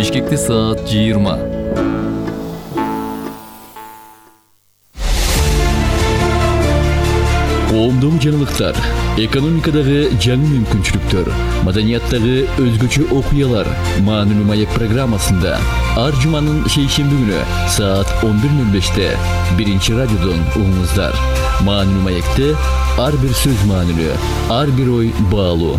Бишкекте саат 20. Коомдогу жаңылыктар, экономикадагы жаңы мүмкүнчүлүктөр, маданияттагы өзгөчө окуялар Маанилүү маек программасында ар жуманын шейшемби күнү саат 11:05-те биринчи радиодон угуңуздар. Маанилүү маекте ар бир сөз маанилүү, ар бир ой баалуу.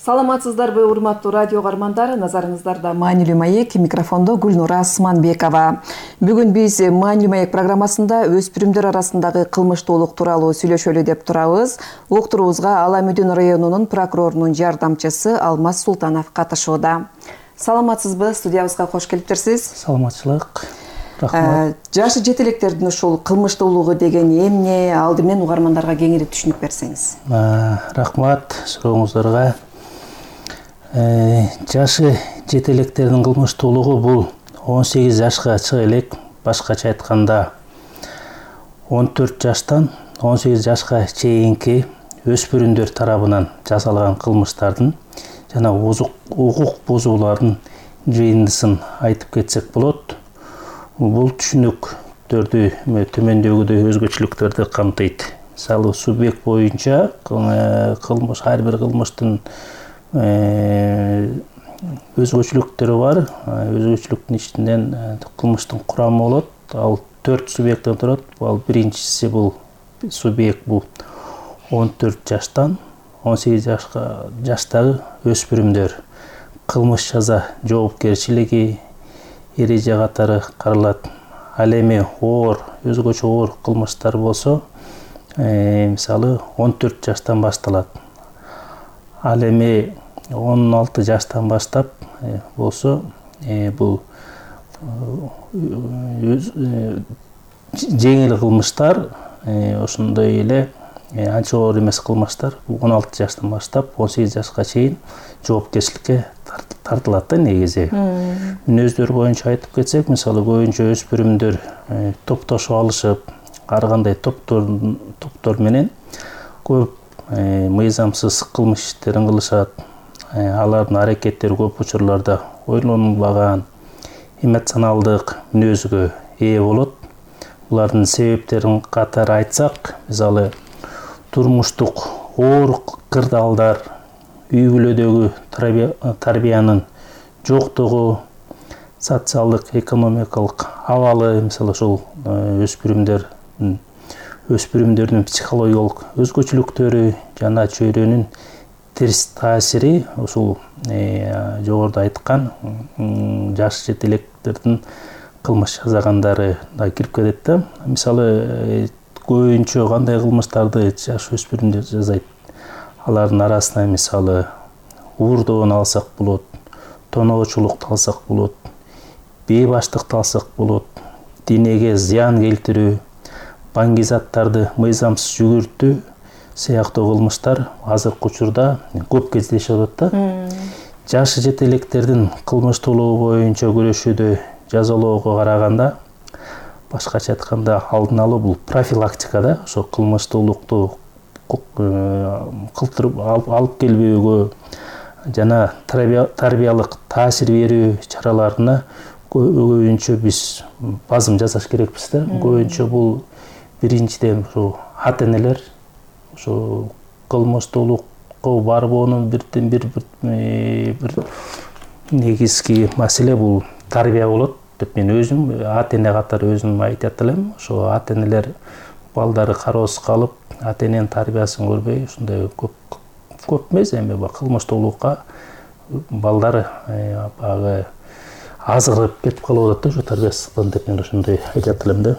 Саламатсыздарбы, урматтуу радио каармандар, назарыңыздарда Маанилүү маек, микрофондо Гүлнура Асманбекова. Бүгүн биз Маанилүү маек программасында өспүрүмдөр арасындагы кылмыштуулук тууралуу сүйлөшөлү деп турабыз. Уктуруубузга Ала Мүдүн районунун прокурорунун жардамчысы Алмаз Султанов катышууда. Саламатсызбы, студиябызга кош келиптерсиз. Саламатчылык. Рахмат. Жашы жетелектердин ушул кылмыштуулугу деген эмне, алды менен угармандарга кеңири түшүнүп берсеңиз. Рахмат сурооңуздарга. Жашы жетелектердин кылмыштуулугу бул 18 жашка чыга элек. Башкача айтканда 14 жаштан 18 жашка чейинки өспүрүмдөр тарабынан жасалган кылмыштардын жана укук бузуулардын жыйындысын айтып кетсек болот. Бул түшүнүктөрдү төмөндөгүдөй өзгөчөлүктөрдү камтыйт. Мисалы, субъект боюнча кылмыш, ар бир кылмыштын өзгөчөлүктөрү бар. Өзгөчөлүктүн ичинен кылмыштын курамы болот. Ал 4 субъекттен турат. Ал биринчиси бул субъект бул 14 жаштан 18 жаштагы өспүрүмдөр. Кылмыш жаза жоопкерчилиги эреже катары каралат. Ал эми өзгөчө оор кылмыштар болсо, мисалы 14 жаштан башталат. Ал эми 16 жаштан баштап болсо, бул жеңил кылмыштар, ошондой эле анча оор эмес кылмыштар 16 жаштан баштап 18 жашка чейин жоопкерчиликке тартылат да негизи. Мүнөздөр боюнча айтып кетсек, мисалы көбүнчө өспүрүмдөр топтошуп алышып, ар кандай топтор менен көп мыйзамсыз кылмыш иштерин кылышат. Алардын аракеттери көп учурларда ойлонулбаган, эмоционалдык мүнөзгө ээ болот. Булардын себептерин катары айтсак, мисалы турмуштук оор кырдаалдар, үй бүлөдөгү тарбиянын жоктугу, социалдык, экономикалык абалы, мисалы ушул өспүрүмдөрдүн психологиялык өзгөчөлүктөрү жана чөйрөнүн терс таасири ушул жогоруда айткан жаш жетелектердин кылмыш жасагандары да кирип кетет да. Мисалы көбүнчө кандай кылмыштарды жаш өспүрүмдөр жасайт? Алардын арасына мисалы уурдоон алсак болот, тоноочулукту алсак болот, бейбаштыкты алсак болот, денеге зыян келтирүү, баңгизаттарды мыйзамсыз жүгүртүү сыяктуу кылмыштар азыркы учурда көп кездешип атат да. Жашы жетелектердин кылмыштуулугу боюнча күрөшүүдө жазалоого караганда, башкача айтканда алдын алуу бул профилактика да. Ошо кылмыштуулукту кылтырып алып келбөөгө жана тарбиялык таасир берүү чараларына көбүнчө биз базым жасаш керекпиз да. Көбүнчө бул биринчиден ушу ата-энелер, ушу кылмыштуулукка барбоонун бир негизги маселе бул тарбия болот деп мен өзүм ата-эне катары өзүм айтат элем. Ошо ата-энелер балдары кароосуз калып, ата-эненин тарбиясын көрбөй, ушундай көп эмес, эми кылмыштуулукка балдары баягы азгырып кетип калып атат да, ошо тарбиясыздыктан деп мен ошондой айтат элем да.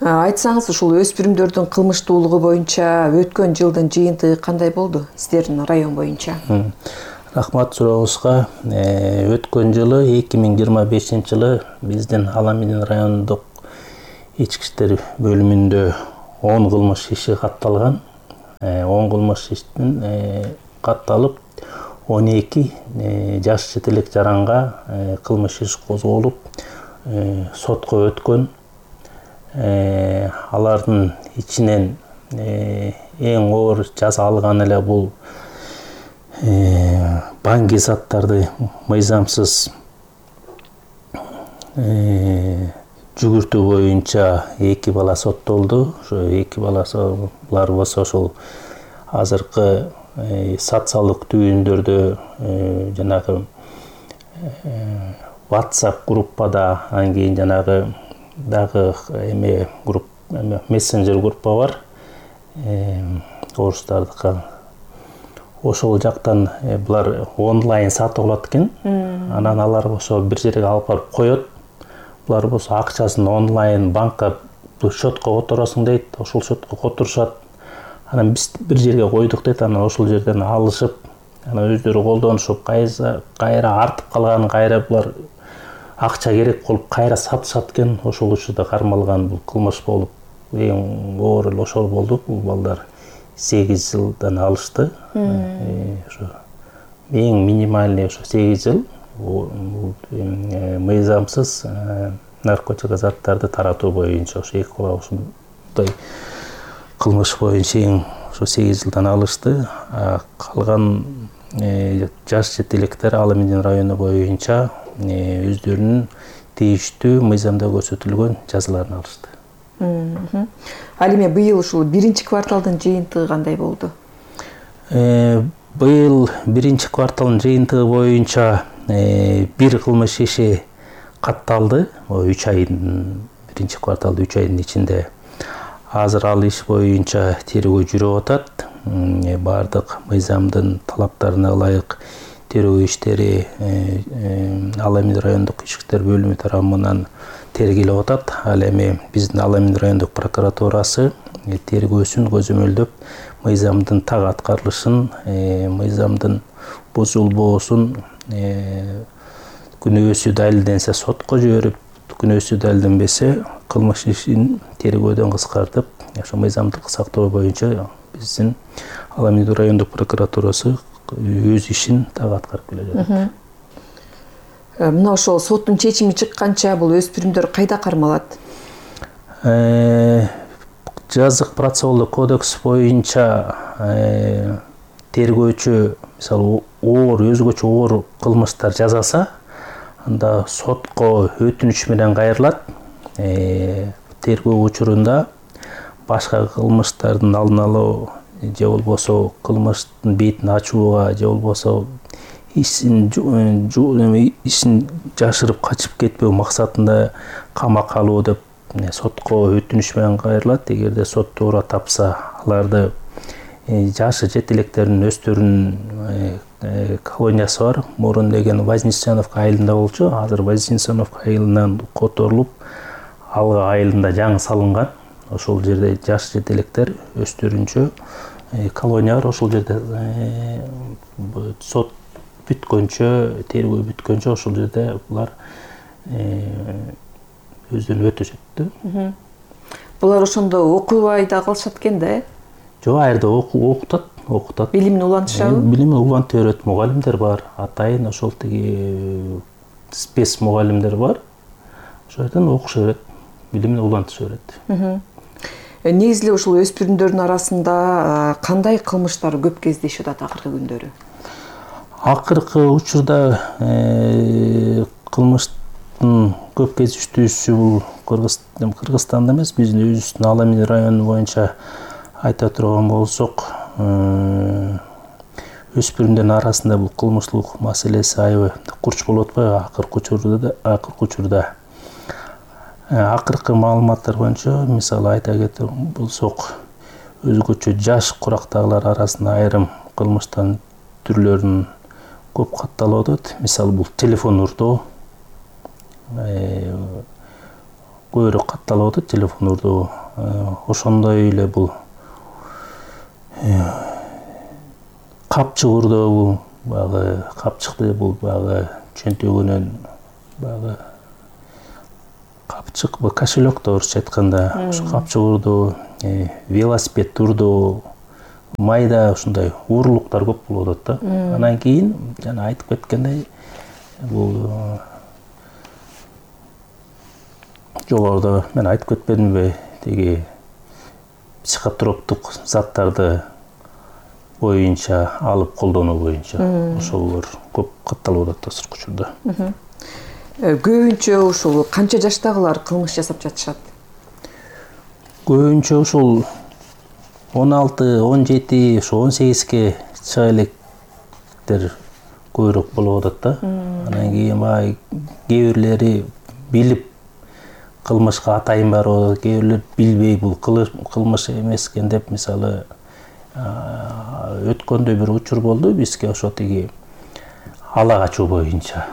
Айтсаңыз, ушул өспүрүмдөрдүн кылмыштуулугу боюнча өткөн жылдын жыйынтыгы кандай болду сиздердин район боюнча? Рахмат сурооңузга. Өткөн жылы 2025-жылы биздин Ала Мүдүн райондук ички иштер бөлүмүндө 10 кылмыш иши катталган. 10 кылмыш иштин катталып 12 жаш жетелек жаранга кылмыш иш козголуп сотко өткөн. алардын ичинен эң оор жаза алган эле бул банги заттарды мыйзамсыз жүгүртүү боюнча 2 бала соттолду. Ошо 2 баласылар болсо ошол азыркы социалдык түйүндөрдө жанагы WhatsApp группада, анан кийин жанагы дагы мессенджер группа бар. Орустардыкы. Ошол жактан булар онлайн сатып алат экен. Анан алар ошо бир жерге алып барып коёт. Булар болсо акчасын онлайн банкка счетко которосуң дейт. Ошол счетко которушат. Анан биз бир жерге койдук дейт. Анан ошол жерден алышып, анан өздөрү колдонушуп, кайра артып калган, кайра булар акча керек болуп кайра сатышат экен. Ошол учурда кармалган бул кылмыш болуп, эң оор эле ошол болду. Бул балдар 8 жылдан алышты. Ошо эң минимальный ошо 8 жыл. Мыйзамсыз наркотик заттарды таратуу боюнча ошо 2 бала ушундай кылмыш боюнча эң ошо 8 жылдан алышты. Калган жаш жетелектер Ала Медин району боюнча өздөрүнүн тийиштүү мыйзамда көрсөтүлгөн жазаларын алышты. Ал эми быйыл ушул 1-кварталдын жыйынтыгы кандай болду? Быйыл 1-кварталдын жыйынтыгы боюнча бир кылмыш иши катталды. 3 айдын 1-кварталда 3 айдын ичинде. Азыр ал иш боюнча тергөө жүрүп атат. Бардык мыйзамдын талаптарына ылайык тергөө иштери Ала Медин райондук ички иштер бөлүмү тарабынан тергелип атат. Ал эми биздин Ала Медин райондук прокуратурасы тергөөсүн көзөмөлдөп, мыйзамдын так аткарылышын, мыйзамдын бузулбоосун күнөөсү далилденсе сотко жиберип, күнөөсү далилденбесе кылмыш ишин тергөөдөн кыскартып, ошо мыйзамдык сактоо боюнча биздин Ала Медин райондук прокуратурасы өз ишин так аткарып келе жатат. Мына ошол соттун чечими чыкканча бул өспүрүмдөр кайда кармалат? Жазык процессуалдык кодекс боюнча тергөөчү мисалы өзгөчө оор кылмыштар жасаса, анда сотко өтүнүч менен кайрылат. Тергөө учурунда башка кылмыштардын алдын алуу же болбосо кылмыштын бетин ачууга же болбосо ишин жашырып качып кетпөө максатында камакка алуу деп сотко өтүнүч менен кайрылат. Эгерде сот туура тапса, аларды жашы жетелектердин өздөрүнүн колониясы бар. Мурун деген Вознесеновка айылында болчу. Азыр Вознесеновка айылынан которулуп, Алга айылында жаңы салынган. Ошол жерде жаш жетелектер өздөрүнчө колония бар. Ошол жерде сот бүткөнчө, тергөө бүткөнчө ошол жерде булар өздөрүн өтөшөт. Булар ошондо окубай да калышат экен да, Жок, айрда окутат. Билимин улантышабы? Билимин улантып берет, мугалимдер бар. Атайын ошол тиги спец мугалимдер бар. Ошол жерден окуша берет, билимин улантыша берет. Негизи эле ушул өспүрүмдөрдүн арасында кандай кылмыштар көп кездешип атат акыркы күндөрү? Акыркы учурда кылмыштын көп кездештүүсү бул Кыргызстанда эмес, биздин өзүбүздүн Ала Медин району боюнча айта турган болсок, өспүрүмдөрдүн арасында бул кылмыштуулук маселеси аябай курч болуп атпайбы акыркы учурда. Акыркы маалыматтар боюнча, мисалы айта кетер болсок, өзгөчө жаш курактагылар арасында айрым кылмыштын түрлөрүн көп катталып атат. Мисалы бул телефон урдоо көбүрөөк катталып атат, телефон урдоо. Ошондой эле бул капчык урдоо, бул баягы капчыкты бул баягы чөнтөгүнөн баягы капчык, бул кошелек да орусча айтканда, ошо капчык урдоо, велосипед урдоо, майда ушундай уурулуктар көп болуп атат да. Анан кийин жана айтып кеткендей, бул жогоруда мен айтып кетпедимби, тиги психотроптук заттарды боюнча алып колдонуу боюнча ошолор көп катталып атат азыркы учурда. Көбүнчө ушул канча жаштагылар кылмыш жасап жатышат? Көбүнчө ушул 16, 17, ошо 18ге чыга электер көбүрөөк болуп атат да. Анан кийин баягы кээ бирлери билип кылмышка атайын барып, кээ бирлер билбей бул кылмыш эмес экен деп, мисалы өткөндө бир учур болду бизге ошо тиги ала качуу боюнча.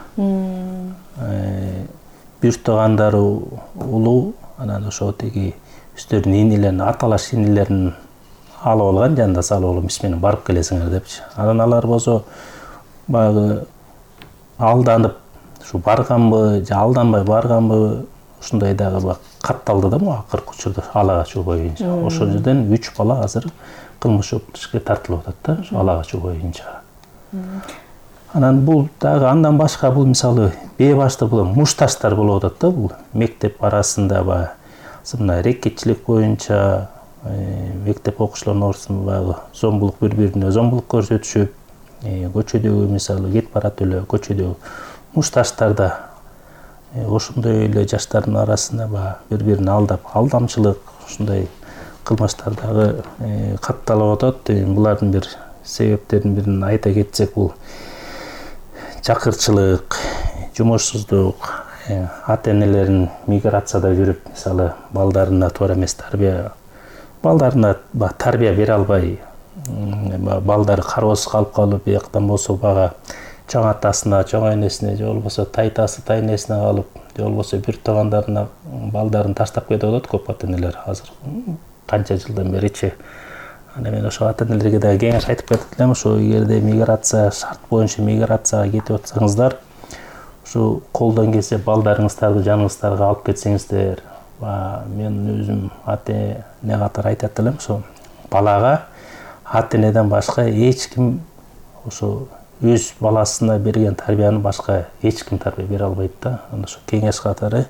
Бир туугандары улуу, анан ошо тиги өздөрүнүн инилерин, аталаш инилерин алып алган, жанында салып алып, биз менен барып келесиңер депчи. Анан алар болсо баягы алданып, ушу барганбы, же алданбай барганбы, ушундай дагы катталды да могу акыркы учурда ала качуу боюнча. Ошол жерден 3 бала азыр кылмыш жоопкерчиликке тартылып атат да, ошо ала качуу боюнча. Анан бул дагы андан башка, бул мисалы бейбашты бул мушташтар болуп атат да, бул мектеп арасында баягы мына рекетчилик боюнча, мектеп окуучуларынын ортосунда баягы зомбулук, бири-бирине зомбулук көрсөтүшүп, көчөдөгү мисалы кетип барат эле көчөдөгү мушташтарда ошондой эле жаштардын арасында баягы бири-бирин алдап, алдамчылык, ушундай кылмыштар дагы катталып атат. Булардын бир себептеринин бирин айта кетсек, бул чакырчылык, жумушсуздук, ата-энелерин миграцияда жүрүп, мисалы балдарына туура эмес балдарына тарбия бере албай, балдары кароосуз калып, бияктан болсо бага чоң атасына, чоң энесине, же болбосо тайтасы, тайнесине калып, же болбосо бир туугандарына балдарын таштап кетип атат көп ата-энелер азыр канча жылдан беричи. Ана мен ошо ата-энелерге да кеңеш айтып кетип элем, ошо эгерде миграция шарт боюнча миграцияга кетип атсаңыздар, ушу колдон келсе балдарыңыздарды жаныңыздарга алып кетсеңиздер. Мен өзүм ата-эне катары айтат элем, ошо балага ата-энеден башка эч ким ошо өз баласына берген тарбияны башка эч ким тарбия бере албайт да. Анда ошо кеңеш катары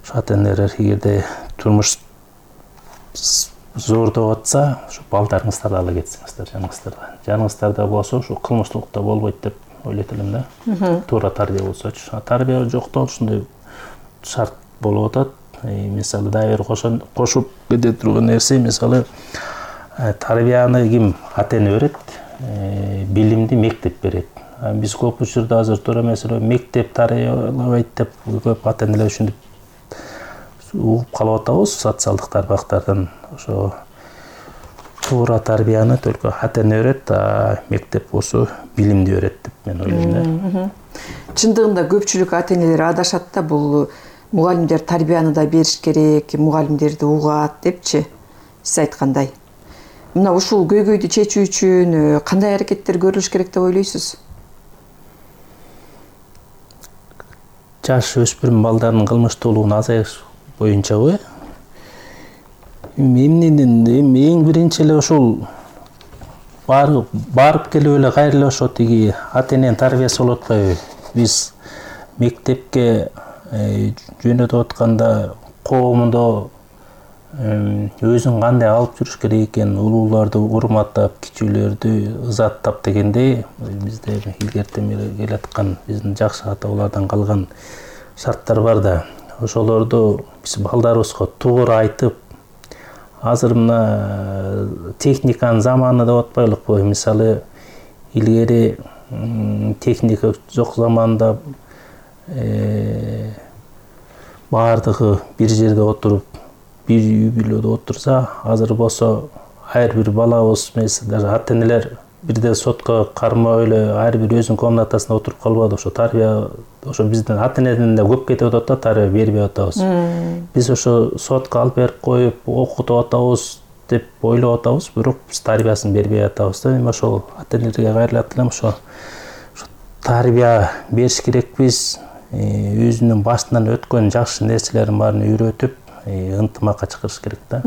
ошо ата-энелер эгерде турмуш зордоп атса, ошо балдарыңыздарды ала кетсеңиздер жаныңыздарда. Жаныңыздарда болсо ошо кылмыштуулук да болбойт деп ойлойт элем да. Туура тарбия болсочу. Тарбия жоктон ушундай шарт болуп атат. Мисалы дагы бир кошуп кете турган нерсе, мисалы тарбияны ким ата-эне берет, билимди мектеп берет. Биз көп учурда азыр туура эмес эле мектеп тарбиялабайт деп көп ата-энелер ушинтип угуп калып атабыз социалдык тармактардан. Ошо туура тарбияны только ата-эне берет, мектеп болсо билимди берет деп мен ойлойм да. Чындыгында көпчүлүк ата-энелер адашат да, бул мугалимдер тарбияны да бериш керек, мугалимдерди угат депчи. Сиз айткандай. Мына ушул көйгөйдү чечүү үчүн кандай аракеттер көрүлүш керек деп ойлойсуз? Жаш өспүрүм балдардын кылмыштуулугун азайтыш боюнчабы, эң биринчи эле ушул барып келип эле кайра эле ошо тиги ата-эненин тарбиясы болуп атпайбы? Биз мектепке жөнөтүп атканда коомдо өзүн кандай алып жүрүш керек экен, улууларды урматтап, кичүүлөрдү ызаттап дегендей, бизде илгертен бери келаткан биздин жакшы ата-бабалардан калган шарттар бар да. Ошолорду биз балдарыбызга туура айтып, азыр мына техниканын заманы деп атпайлыкпы? Мисалы илгери техника жок заманда баардыгы бир жерде отуруп, бир үй бүлөдө отурса, азыр болсо ар бир балабыз даже ата-энелер бирден сотко кармап эле ар бир өзүнүн комнатасында отуруп калбады. Ошо тарбия ошо биздин ата-энеден да көп кетип атат да, тарбия бербей атабыз. Биз ошо сотко алып берип коюп, окутуп атабыз деп ойлоп атабыз, бирок биз тарбиясын бербей атабыз да. Эми ошол ата-энелерге кайрылат элем, ошо тарбия бериш керекпиз. Өзүнүн башынан өткөн жакшы нерселерин баарын үйрөтүп, ынтымакка чакырыш керек да.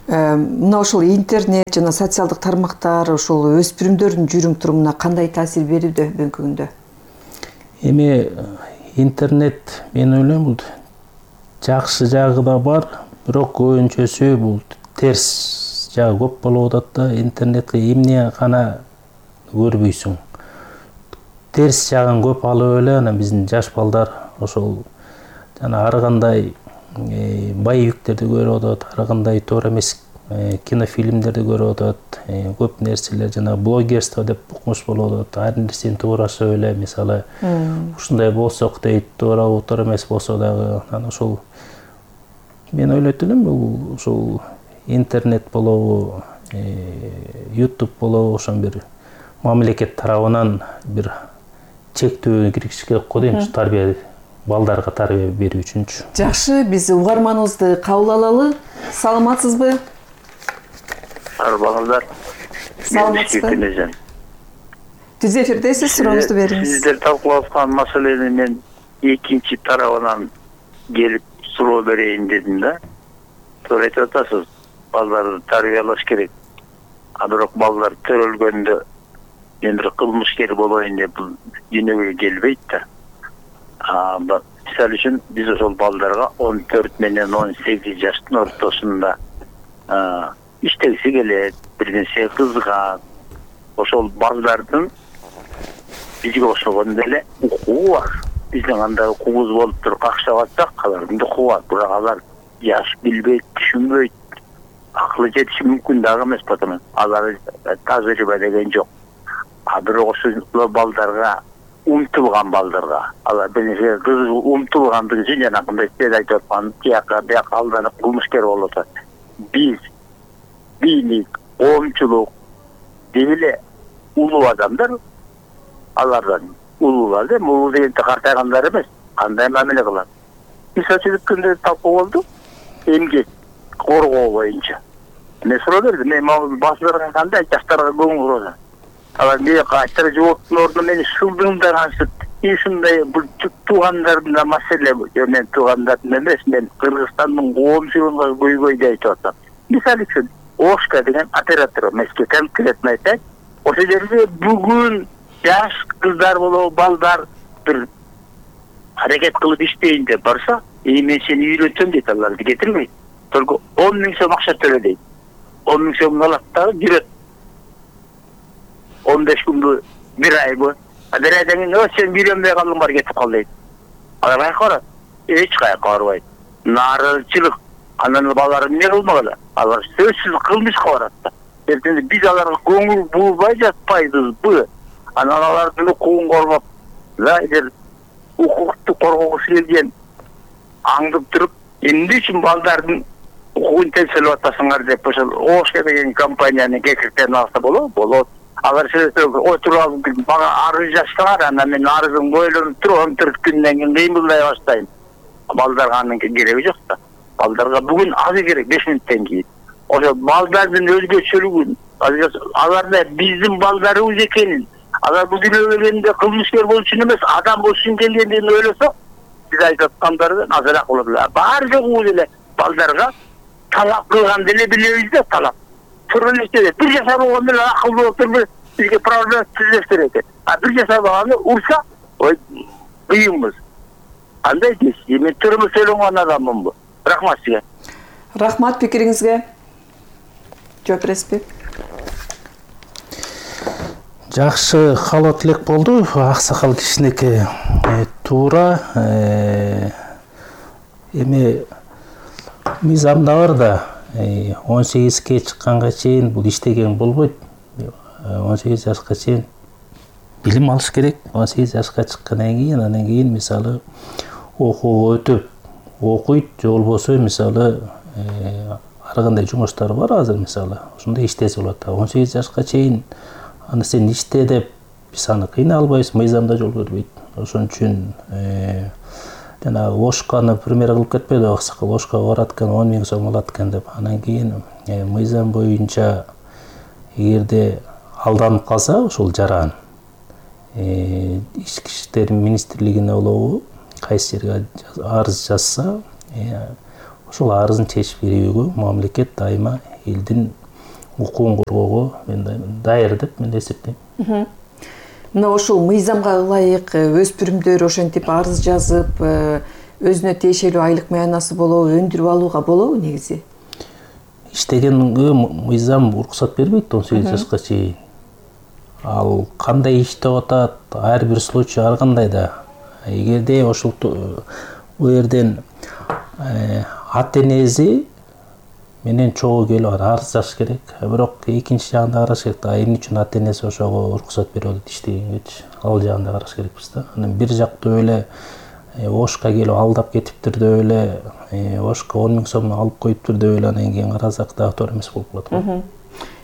Мына ошол интернет жана социалдык тармактар ошол өспүрүмдөрдүн жүрүм-турумуна кандай таасир берүүдө бүгүнкү күндө? Эми интернет, мен ойлойм, бул жакшы жагы да бар, бирок көбүнчөсү бул терс жагы көп болуп атат да. Интернетке эмне гана көрбөйсүң. Терс жагын көп алып эле анан биздин жаш балдар ошол жана ар кандай боевиктерди көрүп атат, ар кандай туура эмес кинофильмдерди көрүп атат, көп нерселер жана блогерство деп укмуш болуп атат. Ар нерсени туурашып эле, мисалы ушундай болсок дейт, туура эмес болсо дагы. Анан ошол мен ойлойт элем, бул ушул интернет болобу, YouTube болобу, ошон бир мамлекет тарабынан бир чектөө киргизиш керек го дейм, тарбия балдарга тарбия берүү үчүнчү. Жакшы, биз угарманыбызды кабыл алалы. Саламатсызбы? Арбаңыздар. Саламатсызбы? Түз эфирдесиз, сурооңузду бериңиз. Сиздер талкуулап аткан маселени мен экинчи тарабынан келип суроо берейин дедим да. Туура айтып атасыз, балдарды тарбиялаш керек. А бирок балдар төрөлгөндө мен бир кылмышкер болоюн деп бул дүйнөгө келбейт да. Мисалы үчүн биз ошол балдарга 14 менен 18 жаштын ортосунда иштегиси келет, бир нерсе кызыгат. Ошол балдардын бизге окшогон деле укугу бар. Биздин кандай укугубуз болуп туруп какшап атсак, алардын да укугу бар. Бирок алар жаш билбейт, түшүнбөйт. Акылы жетиши мүмкүн дагы эмес, потому алар тажрыйба деген жок. Бирок ошол балдарга, умтулган балдарга, алар бир нерсе умтулгандыгы үчүн жанагындай сиз айтып аткан тияка бияка алданып кылмышкер болуп атат. Биз бийлик, коомчулук деп эле улуу адамдар алардан улуулар да, улуу дегенде картайгандар эмес, кандай мамиле кылат. Мисалы үчүн өткөндө талкуу болду, эмгек коргоо боюнча. Мен суроо бердим, мен башчыларга кандай жаштарга көңүл бурат. Алар эмне кайтара жооптун ордуна мени шылдыңдар антип, ушундай бул туугандардын маселе, мен туугандардын эмес, мен Кыргызстандын коомчулугуна көйгөй деп айтып атам. Мисалы үчүн Ошка деген оператор, меске конкретно айтайын, ошол жерде бүгүн жаш кыздар болобу, балдар бир аракет кылып иштейин деп барса, мен сени үйрөтөм дейт, аларды кетирбейт. Только 10 000 сом акча төлө дейт. 10 000 сом алат да жүрөт. 15 күндү, бир айбы. Бир айдан кийин сен үйрөнбөй калдың, бар кетип кал дейт. Алар кайка барат? Эч кайка барбайт. Нааразычылык. Анан балдар эмне кылмагыла? Алар сөзсүз кылмышка барат да. Эртең биз аларга көңүл бурбай жатпайбызбы? Анан алардын укугун коргоп, эгер укукту коргогусу келген аңдып туруп, эмне үчүн балдардын укугун темселеп атасыңар деп ошол Ошка деген компаниянын кекиртерин алса болот. Алар отуруп бага арыз жазсаңар, анан мен арызымды ойлонуп туруп 14 күндөн кийин кыймылдай баштайм. Балдарга анын кереги жок да. Балдарга бүгүн азы керек 5 мүнөттөн кийин. Ошо балдардын өзгөчөлүгүн, аларда биздин балдарыбыз экенин, алар бул дүйнөгө келгенде кылмышкер болуш үчүн эмес, адам болуш үчүн келгендигин ойлосок, сиз айтып аткандардан азыраак болот эле. Бар жогу эле балдарга талап кылган деле билебиз да, талап. Турмушта бир жашар болгон менен акылдуу болуп туруп бизге проблема түзөштүр экен. Бир жашар болгону урса, ой, кыйынбыз. Кандай дейсиз? Мен турмуш сөйлөгөн адаммынбы? Рахмат сизге. Рахмат пикириңизге. Жооп бересизби? Жакшы каалоо тилек болду. Аксакал кишинеки туура. Эми мыйзамда бар да, 18ге чыкканга чейин бул иштеген болбойт. 18 жашка чейин билим алыш керек. 18 жашка чыккандан кийин, анан кийин мисалы окууга өтүп окуйт, же болбосо мисалы ар кандай жумуштар бар азыр, мисалы ошондой иштесе болот. 18 жашка чейин аны сен иште деп биз аны кыйнай албайбыз, мыйзамда жол бербейт. Ошон үчүн жана Ошканы пример кылып кетпеди, аксакал Ошкага барат экен, 10 000 сом алат экен деп. Анан кийин мыйзам боюнча эгерде алданып калса ошол жаран ички иштер министрлигине болобу, кайсы жерге арыз жазса, ошол арызын чечип берүүгө мамлекет дайыма элдин укугун коргоого даяр деп мен эсептейм. Мына ошол мыйзамга ылайык өспүрүмдөр ошентип арыз жазып, өзүнө тиешелүү айлык маянасы болобу, өндүрүп алууга болобу негизи? Иштегенге мыйзам уруксат бербейт 18 жашка чейин. Ал кандай иштеп атат, ар бир случай ар кандай да. Эгерде ошол бул жерден ата-энеси менен чогуу келип арыз жазыш керек. Бирок экинчи жагында караш керек да, эмне үчүн ата-энеси ошого уруксат берип атат иштегенгечи. Ал жагында караш керекпиз да. Анан бир жактуу эле ошко келип алдап кетиптир деп эле ошко 10 000 сом алып коюптур деп эле анан кийин карасак дагы туура эмес болуп калат го.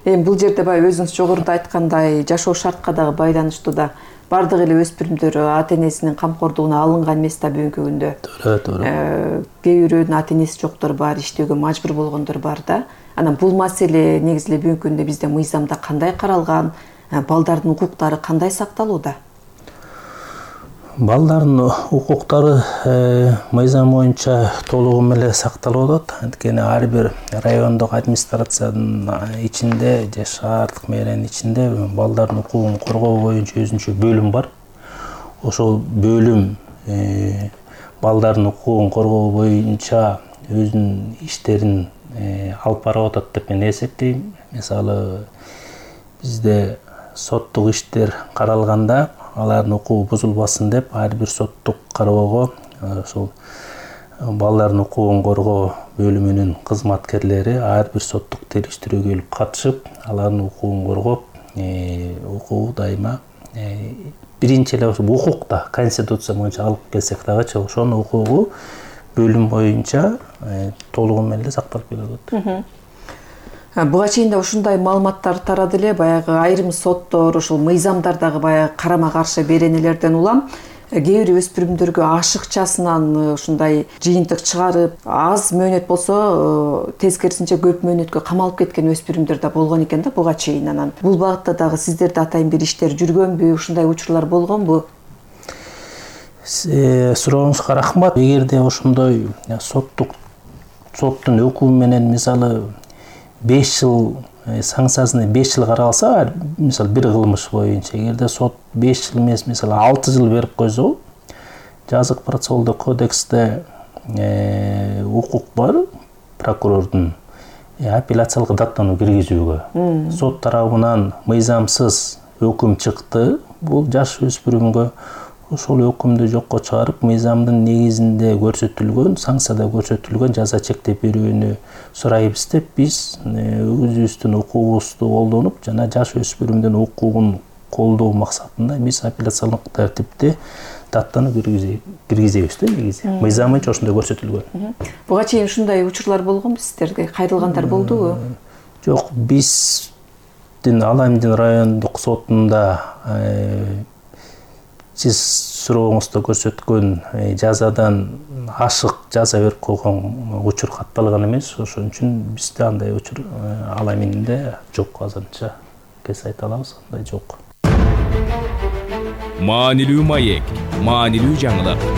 Эми бул жерде баягы өзүңүз жогоруда айткандай жашоо шартка дагы байланыштуу да. Бардык эле өспүрүмдөр ата-энесинин камкордугуна алынган эмес да бүгүнкү күндө. Туура. Кээ бирөөнүн ата-энеси жоктор бар, иштөөгө мажбур болгондор бар да. Анан бул маселе негизи эле бүгүнкү күндө бизде мыйзамда кандай каралган, балдардын укуктары кандай сакталууда? Балдардын укуктары мыйзам боюнча толугу менен сакталып атат. Анткени ар бир райондук администрациянын ичинде же шаардык мэриянын ичинде балдардын укугун коргоо боюнча өзүнчө бөлүм бар. Ошол бөлүм балдардын укугун коргоо боюнча өзүнүн иштерин алып барып атат деп мен эсептейм. Мисалы бизде соттук иштер каралганда алардын укугу бузулбасын деп ар бир соттук кароого ошол балдардын укугун коргоо бөлүмүнүн кызматкерлери ар бир соттук териштирүүгө келип катышып, алардын укугун коргоп, укугу дайыма биринчи эле ошо укук да конституция боюнча алып келсек дагычы ошонун укугу бөлүм боюнча толугу менен эле сакталып келип атат. Буга чейин да ушундай маалыматтар тарады эле, баягы айрым соттор, ушул мыйзамдардагы баягы карама-каршы беренелерден улам кээ бир өспүрүмдөргө ашыкчасынан ушундай жыйынтык чыгарып, аз мөөнөт болсо тескерисинче көп мөөнөткө камалып кеткен өспүрүмдөр да болгон экен да буга чейин. Анан бул багытта дагы сиздерде атайын бир иштер жүргөнбү, ушундай учурлар болгонбу? Сурооңузга рахмат. Эгерде ошондой соттун өкүмү менен мисалы 5 жыл санкциясына 5 жыл каралса, мисалы бир кылмыш боюнча, эгерде сот 5 жыл эмес, мисалы 6 жыл берип койсо, жазык процессуалдык кодексте укук бар прокурордун апелляциялык даттануу киргизүүгө. Сот тарабынан мыйзамсыз өкүм чыкты, бул жаш өспүрүмгө ошол өкүмдү жокко чыгарып, мыйзамдын негизинде көрсөтүлгөн, санкцияда көрсөтүлгөн жаза чектеп берүүнү сурайбыз деп биз өзүбүздүн укугубузду колдонуп, жана жаш өспүрүмдүн укугун колдоо максатында биз апелляциялык тартипте даттануу киргизебиз да негизи. Мыйзам боюнча ошондой көрсөтүлгөн. Буга чейин ушундай учурлар болгонбу сиздерде? Кайрылгандар болдубу? Жок, биздин Аламдин райондук сотунда сиз сурооңузда көрсөткөн жазадан ашык жаза берип койгон учур катталган эмес. Ошон үчүн бизде андай учур Аламинде жок, азырынча кез айта алабыз, андай жок. Маанилүү маек, маанилүү жаңылык.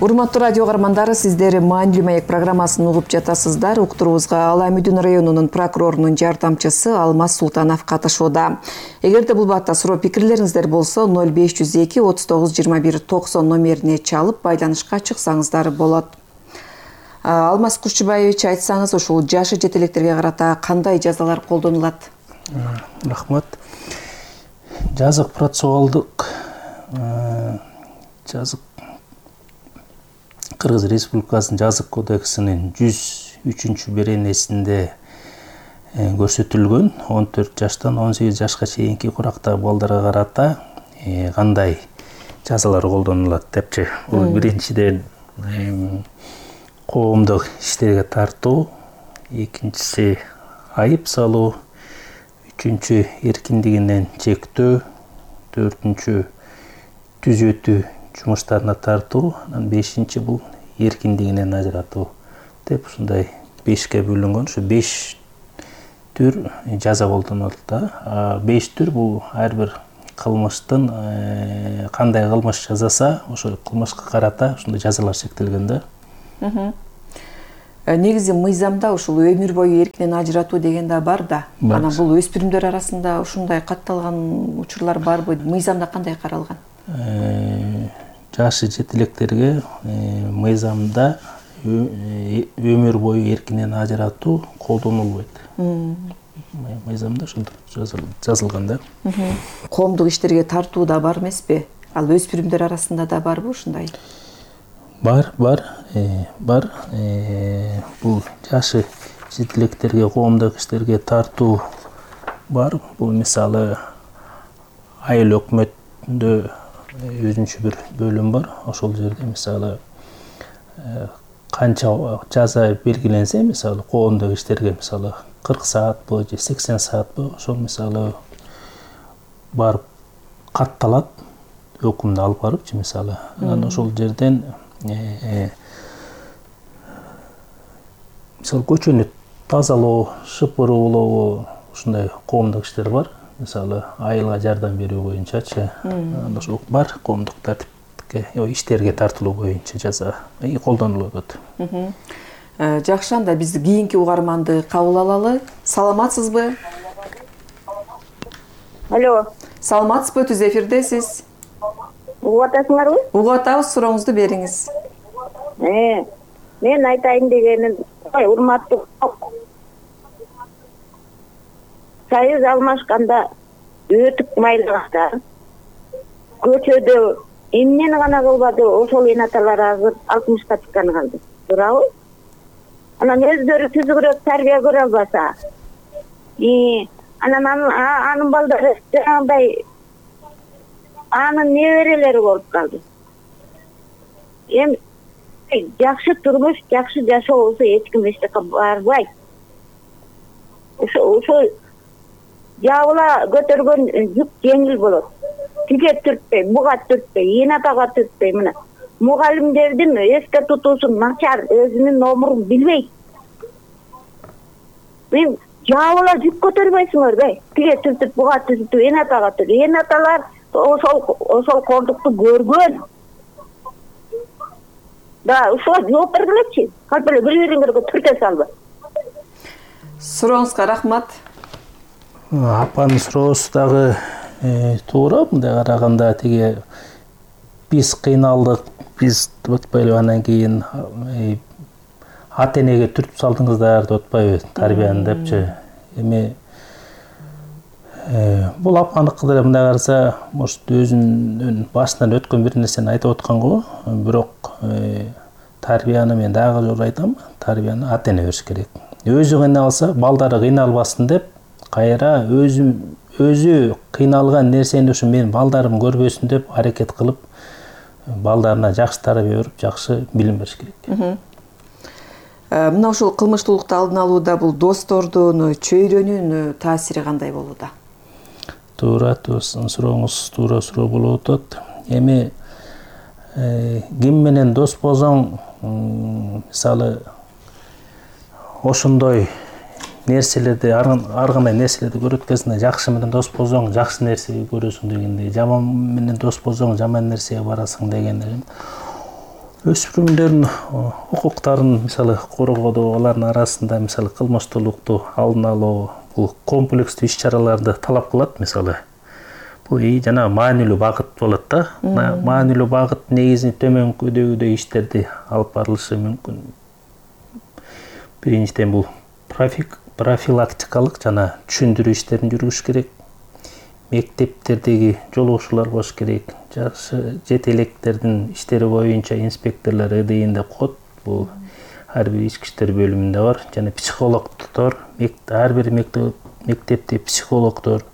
Урматтуу радио каармандары, сиздер Маанилүү маек программасын угуп жатасыздар. Уктуруубузга Аламүдүн районунун прокурорунун жардамчысы Алмаз Султанов катышууда. Эгерде бул баатта суроо пикирлериңиздер болсо 0502 39 21 90 номерине чалып байланышка чыксаңыздар болот. Алмаз Кушчубаевич, айтсаңыз, ушул жашы жете электерге карата кандай жазалар колдонулат? Рахмат. Жазык процессуалдык Кыргыз Республикасынын жазык кодексинин 103 беренесинде көрсөтүлгөн 14 жаштан 18 жашка чейинки курактагы балдарга карата кандай жазалар колдонулат депчи. Бул биринчиден коомдук иштерге тартуу, экинчиси айып салуу, үчүнчү эркиндигинен чектөө, төртүнчү түзөтүү жумуштарына тартуу, анан бешинчи бул эркиндигинен ажыратуу деп ушундай 5ке бөлүнгөн. Ушу 5 түр жаза колдонулат да. 5 түр бул ар бир кылмыштын кандай кылмыш жасаса, ошол кылмышка карата ушундай жазалар чектелген да. Негизи мыйзамда ушул өмүр бою эркинен ажыратуу деген да бар да. Анан бул өспүрүмдөр арасында ушундай катталган учурлар барбы? Мыйзамда кандай каралган? жашы жете электерге мыйзамда өмүр бою эркинен ажыратуу колдонулбойт. Мыйзамда ошентип жазылган да. Коомдук иштерге тартуу да бар эмеспи? Ал өспүрүмдөр арасында да барбы ушундай? Бар. Бул жашы жете электерге коомдук иштерге тартуу бар. Бул мисалы айыл өкмөтүндө өзүнчө бир бөлүм бар. Ошол жерде мисалы канча жаза белгиленсе, мисалы коомдук иштерге мисалы 40 саатпы же 80 саатпы, ошол мисалы барып катталат, өкүмдү алып барыпчы мисалы. Анан ошол жерден мисалы көчөнү тазалоо, шыпыруулоо ушундай коомдук иштер бар. Мисалы айылга жардам берүү боюнчачы. Анда ошол бар коомдук тартипке, иштерге тартылуу боюнча жаза колдонулуп атат. Жакшы, анда биз кийинки угарманды кабыл алалы. Саламатсызбы? Алло. Саламатсызбы, түз эфирдесиз. Угуп атасыңарбы? Угуп атабыз, сурооңузду бериңиз. Мен айтайын дегеним, урматтуу союз алмашканда өтүп майлаганда көчөдө эмнени гана кылбады, ошол энаталар азыр 60-ка чыкканы калды. Туурабы? Анан өздөрү түзүгүрөөк тарбия көрө албаса, анан анын балдары жаңагындай анын неберелери болуп калды. Эми жакшы турмуш, жакшы жашоо болсо эч ким эч жака барбайт. Ошо жабыла көтөргөн жүк жеңил болот. Тиге түртпөй, буга түртпөй, энатага түртпөй, мына мугалимдердин эске тутуусу начар, өзүнүн номурун билбейт. Мен жабыла жүк көтөрбөйсүңөр бе? Тиге түртүп, буга түртүп, энатага түртүп. Энаталар ошол коомдукту көргөн. Да, ошо жооп бергилечи. Калп эле бири-бириңерге түртө салбы. Сурооңузга рахмат. Апанын суроосу дагы туура. Мындай караганда тиги биз кыйналдык, биз деп атпайлы, анан кийин ата-энеге түртүп салдыңыздар деп атпайбы, тарбияны депчи. Эми бул апаныкы деле мындай караса, может өзүнүн башынан өткөн бир нерсени айтып аткан го, бирок тарбияны мен дагы жолу айтам, тарбияны ата-эне бериш керек. Өзү кыйналса, балдары кыйналбасын деп, кайра өзү кыйналган нерсени ушу менин балдарым көрбөсүн деп аракет кылып, балдарына жакшы тарбия берип, жакшы билим бериш керек. Мына ушул кылмыштуулукту алдын алууда бул достордун, чөйрөнүн таасири кандай болууда? Туура, сурооңуз туура суроо болуп атат. Эми ким менен дос болсоң, мисалы ошондой нерселерди, ар кандай нерселерди көрөт кезинде жакшы менен дос болсоң, жакшы нерсеги көрөсүң дегендей, жаман менен дос болсоң, жаман нерсеге барасың дегендей. Өспүрүмдөрдүн укуктарын мисалы коргоодо, алардын арасында мисалы кылмыштуулукту алдын алуу, бул комплекстүү иш-чараларды талап кылат. Мисалы бул жана маанилүү багыт болот да. Маанилүү багыт негизинен төмөнкүдөгүдөй иштерди алып барылышы мүмкүн. Биринчиден бул профилактикалык жана түшүндүрүү иштерин жүргүзүш керек. Мектептердеги жолугушуулар болуш керек. Жашы жете электердин иштери боюнча инспекторлор ɨдыйында кот. Бул ар бир ички иштер бөлүмүндө бар. Жана психологдор, ар бир мектепте психологдор,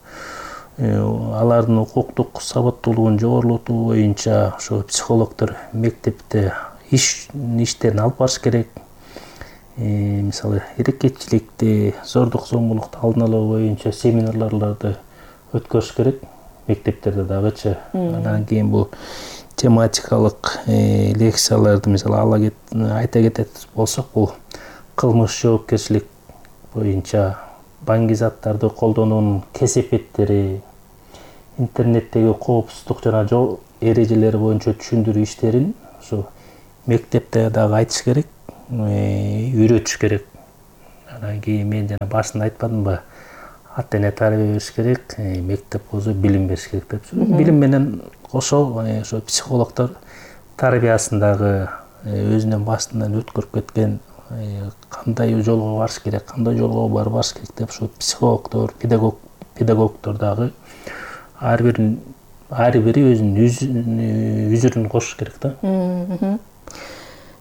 алардын укуктук сабаттуулугун жогорултуу боюнча ошо психологдор мектепте иштерин алып барыш керек. Мисалы эрекечиликти, зордук зомбулукту алдын алуу боюнча семинарларды өткөрүш керек мектептерде дагычы. Андан кийин бул тематикалык лекцияларды мисалы айта кетет болсок, бул кылмыш жоопкерчилик боюнча баңгизаттарды колдонуунун кесепеттери, интернеттеги коопсуздук жана жол эрежелери боюнча түшүндүрүү иштерин ушу мектепте дагы айтыш керек, үйрөтүш керек. Анан кийин мен жана башында айтпадымбы, ата-эне тарбия бериш керек, мектеп болсо билим бериш керек деп. Билим менен кошо ошо психологдор тарбиясындагы өзүнүн башынан өткөрүп кеткен кандай жолго барыш керек, кандай жолго барбаш керек деп ушу психологдор, педагогдор дагы ар бири өзүнүн үзүрүн кошуш керек да.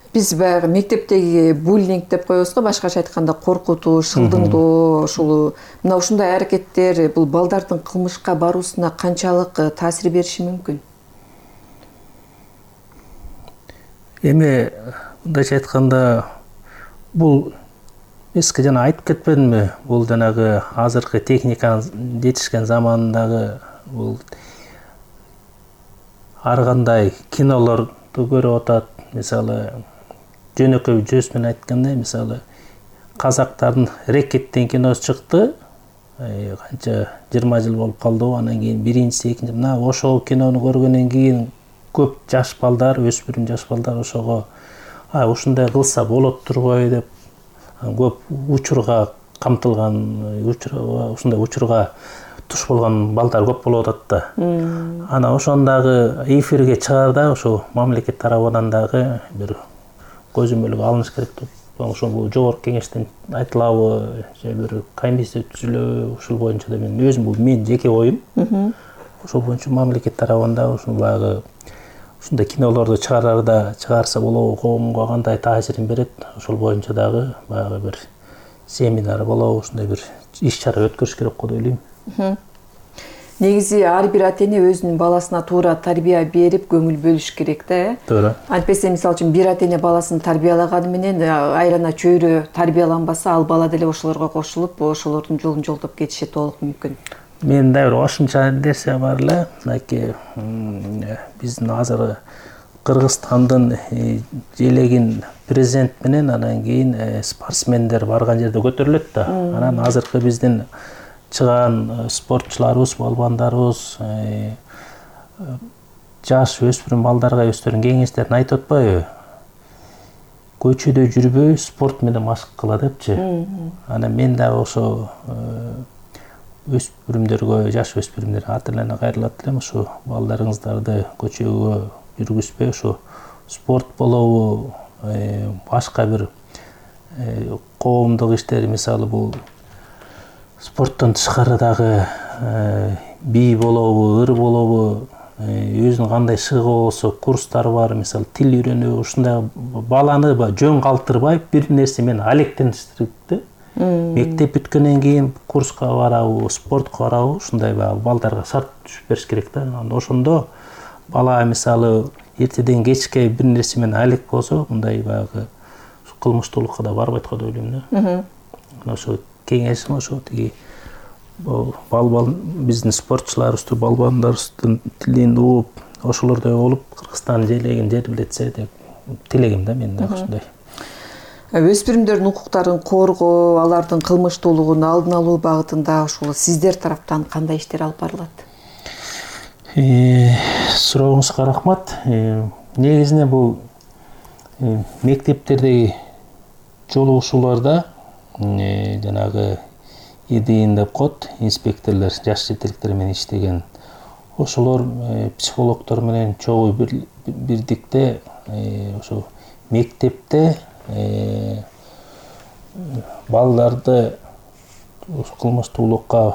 Биз баягы мектептеги буллинг деп коебуз го, башкача айтканда коркутуу, шылдыңдоо, ушул мына ушундай аракеттер бул балдардын кылмышка баруусуна канчалык таасир бериши мүмкүн? Эми мындайча айтканда бул эски жана айтып кетпедимби, бул жанагы азыркы техниканын жетишкен заманындагы бул ар кандай кинолорду көрүп атат. Мисалы жөнөкөй сөз менен айтканда, мисалы казактардын Рекеттен киносу чыкты. Канча 20 жыл болуп калды. Анан кийин биринчиси, экинчи мына ошол кинону көргөндөн кийин көп жаш балдар, өспүрүм жаш балдар ошого ушундай кылса болот турбайбы деп көп учурга камтылган, ушундай учурга туш болгон балдар көп болуп атат да. Анан ошондагы эфирге чыгаарда ошо мамлекет тарабынан дагы бир көзөмөлгө алыныш керек деп. Ошо бул жогорку кеңештен айтылабы, же бир комиссия түзүлөбү, ушул боюнча да мен өзүм, бул менин жеке оюм. Ошол боюнча мамлекет тарабынан ушул баягы ушундай кинолорду чыгарса болобу, коомго кандай таасирин берет, ошол боюнча дагы баягы бир семинар болобу, ушундай бир иш-чара өткөрүш керек го деп ойлойм. Негизи ар бир ата эне өзүнүн баласына туура тарбия берип көңүл бөлүш керек да. Туура. Антпесе мисалы үчүн бир ата эне баласын тарбиялаганы менен айрана чөйрө тарбияланбаса, ал бала деле ошолорго кошулуп, ошолордун жолун жолдоп кетиши толук мүмкүн. Менин да бир кошумча нерсе бар эле. Мынакей биздин азыр Кыргызстандын желегин президент менен анан кийин спортсмендер барган жерде көтөрүлөт да. Анан азыркы биздин чыган спортчуларыбыз, балбандарыбыз жаш өспүрүм балдарга өздөрүнүн кеңештерин айтып атпайбы? Көчөдө жүрбөй, спорт менен машык кыла депчи. Анан мен дагы ошо өспүрүмдөргө, жаш өспүрүмдер ата-энелерге кайрылат элем, ошо балдарыңыздарды көчөгө жүргүзбөй, ошо спорт болобу, башка бир коомдук иштер, мисалы бул спорттон тышкары дагы бий болобу, ыр болобу, өзүнүн кандай шыгы болсо курстар бар, мисалы тил үйрөнүү, ушундай баланы жөн калтырбай бир нерсе менен алектенишtirip да. Мектеп бүткөндөн кийин курска барабы, спортко барабы, ушундай балдарга шарт түзүп бериш керек да. Ошондо бала мисалы эртеден кечке бир нерсе менен алек болсо, мындай баягы кылмыштуулукка да барбайт го деп ойлойм да. Ошо кеңешим ошо тиги биздин спортчуларыбызды, балбандарыбыздын тилин угуп, ошолордой болуп Кыргызстандын желегин жергилетсе деп тилегим да мен дагы ушундай. Өспүрүмдөрдүн укуктарын коргоо, алардын кылмыштуулугун алдын алуу багытында ушул сиздер тараптан кандай иштер алып барылат? Сурооңузга рахмат. Негизинен бул мектептердеги жолугушууларда жанагы ИДИН деп коет, инспекторлор, жаш жетеликтер менен иштеген. Ошолор психологдор менен чогуу бирдикте ошо мектепте балдарды кылмыштуулукка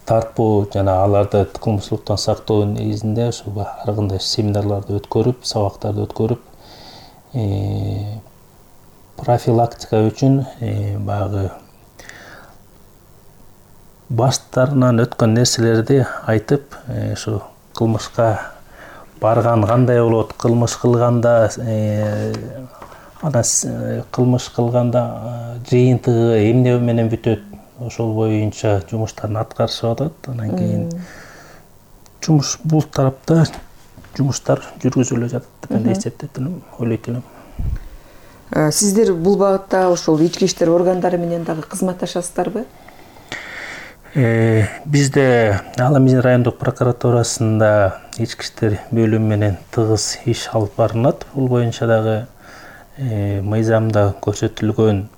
тартпоо жана аларды кылмыштуулуктан сактоо негизинде ошо ар кандай семинарларды өткөрүп, сабактарды өткөрүп, профилактика үчүн баягы баштарынан өткөн нерселерди айтып, ошо кылмышка барган кандай болот, кылмыш кылганда кылмыш кылганда жыйынтыгы эмне менен бүтөт, ошол боюнча жумуштарын аткарышып атат. Анан кийин жумуш бул тарапта жумуштар жүргүзүлө жатат деп эсептейт элем, ойлойт элем. Сиздер бул багытта ошол ички иштер органдары менен дагы кызматташасыздарбы? Бизде Ала-Мизин райондук прокуратурасында ички иштер бөлүмү менен тыгыз иш алып барылат. Бул боюнча дагы мыйзамда көрсөтүлгөн